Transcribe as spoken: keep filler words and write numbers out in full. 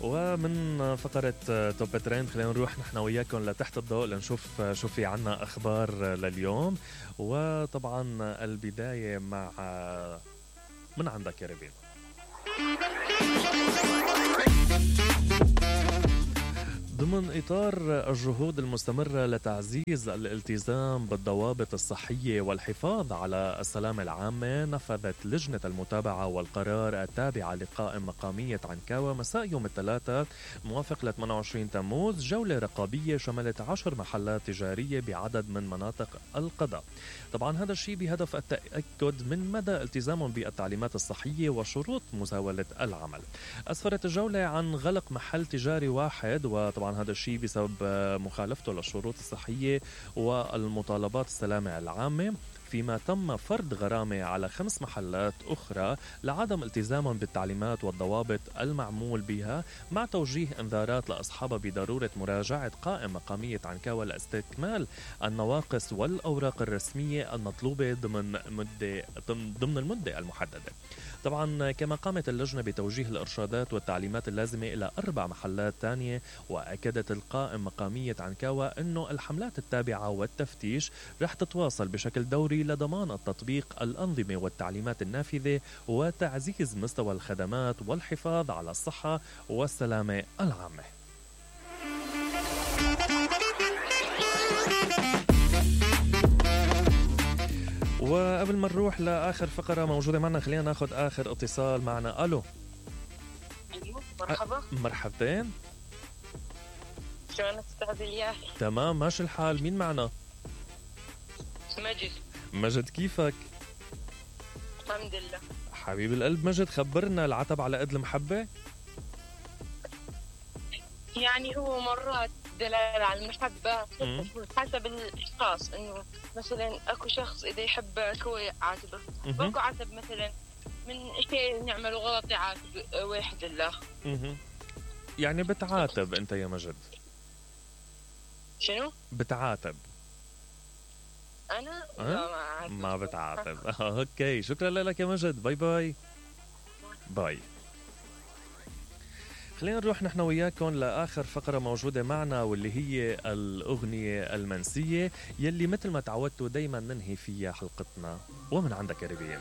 ومن فقرة توب ترند خلينا نروح نحن وياكم لتحت الضوء لنشوف شو في عنا أخبار لليوم. وطبعا البداية مع من عندك يا ربين. ضمن إطار الجهود المستمرة لتعزيز الالتزام بالضوابط الصحية والحفاظ على السلامة العامة، نفذت لجنة المتابعة والقرار التابعة لقائم مقامية عنكاوة مساء يوم الثلاثاء موافق ل ثمانية وعشرين تموز جولة رقابية شملت عشر محلات تجارية بعدد من مناطق القضاء. طبعا هذا الشيء بهدف التأكد من مدى التزامهم بالتعليمات الصحية وشروط مزاولة العمل. أسفرت الجولة عن غلق محل تجاري واحد، وطبعا هذا الشيء بسبب مخالفته للشروط الصحية والمطالبات السلامة العامة، فيما تم فرض غرامة على خمس محلات أخرى لعدم التزامهم بالتعليمات والضوابط المعمول بها، مع توجيه انذارات لأصحابها بضرورة مراجعة قائمة مقامية عنكاوة لاستكمال النواقص والأوراق الرسمية المطلوبة ضمن مدة ضمن المدة المحددة. طبعا كما قامت اللجنة بتوجيه الإرشادات والتعليمات اللازمة إلى أربع محلات تانية، وأكدت القائم مقامية عنكاوة أنه الحملات التابعة والتفتيش رح تتواصل بشكل دوري لضمان التطبيق الأنظمة والتعليمات النافذة وتعزيز مستوى الخدمات والحفاظ على الصحة والسلامة العامة. وقبل ما نروح لآخر فقرة موجودة معنا، خلينا ناخد آخر اتصال معنا. ألو. أيوه مرحبا. مرحبتين. شلونك أستاذ إلياس؟ تمام ماشي الحال. مين معنا؟ مجد. مجد كيفك؟ الحمد لله حبيب القلب. مجد خبرنا، العتب على قد المحبة؟ يعني هو مرات دلالة على المحبة حسب الاشخاص، انه مثلا اكو شخص اذا يحبك هو يعاتبه، واكو عتب مثلا من شيء نعمله غلط يعاتب واحد الله. يعني بتعاتب انت يا مجد؟ شنو بتعاتب؟ انا أه؟ لا ما, ما بتعاتب. اوكي شكرا لك يا مجد. باي باي باي. خلينا نروح نحن وياكم لآخر فقرة موجودة معنا، واللي هي الأغنية المنسية يلي مثل ما تعودتوا دايما ننهي فيها حلقتنا. ومن عندك يا ربيع.